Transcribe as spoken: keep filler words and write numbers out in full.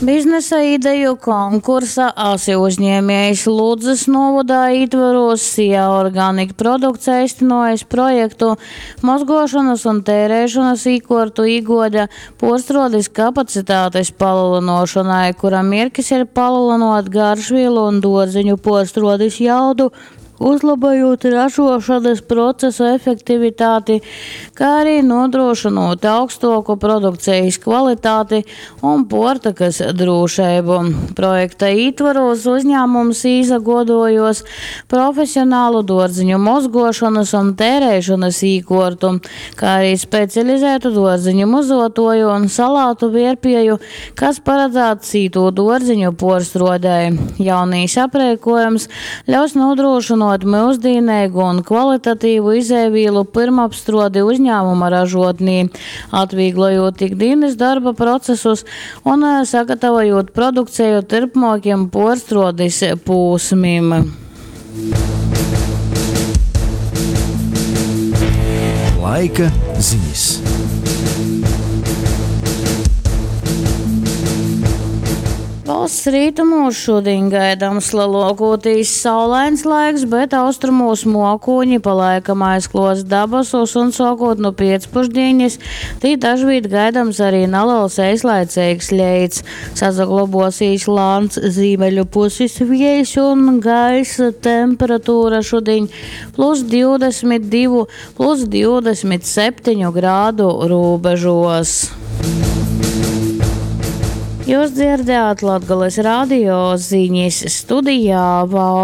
Biznesa ideju konkursa "Asi uzņēmējs" Ludzys nūvodā ītvorūs SIA Organic Products eistynuojs projektu "Mozguošonys un teireišonys īkuortu īguode puorstruodis kapacitātes palelynuošonai", kura mierkis ir palelynuot garšvīlu un duorzeņu puorstruodis jaudu, uzlobojūt ražuošonys procesu efektivitāti, kai ari nūdrūšynūt augstuoku produkcejis kvalitāti un puortykys drūšeibu. Projekta ītvorūs uzņāmums īsaguoduojuos profesionalu duorzeņu mozguošonys un teireišonys īkuortu, kai ari specializētu duorzeņu muzuotuoju un salātu vierpieju, kas paradzāts cītū duorzeņu puorstruodei. Jaunīs apreikuojums ļaus nūdrūšynuot myusdīneigu un kvalitatīvu izejvīlu pyrmapstruodi uzņāmuma ražotnī, atvīglojūt ikdīnys dorba procesus un sagatavojūt produkceju turpmuokim puorstruodis pūsmim. Laika zinis. Valsts rītumos šudiņ gaidams leluokūtīs saulains laiks, bet austrumūs muokūņi pa laikam aizkluos dabasus un suokot nu piecpušdīnis tī dažvīt gaidams arī nalels eislaiceigs leits. Sasaglobosīs lāns zīmeļu pusis viejs un gaisa temperatūra šudiņ plus divdesmit divu, plus divdesmit septiņu grādu rūbežos. Jūs dzirdējāt Latgales radio ziņas studijā Val.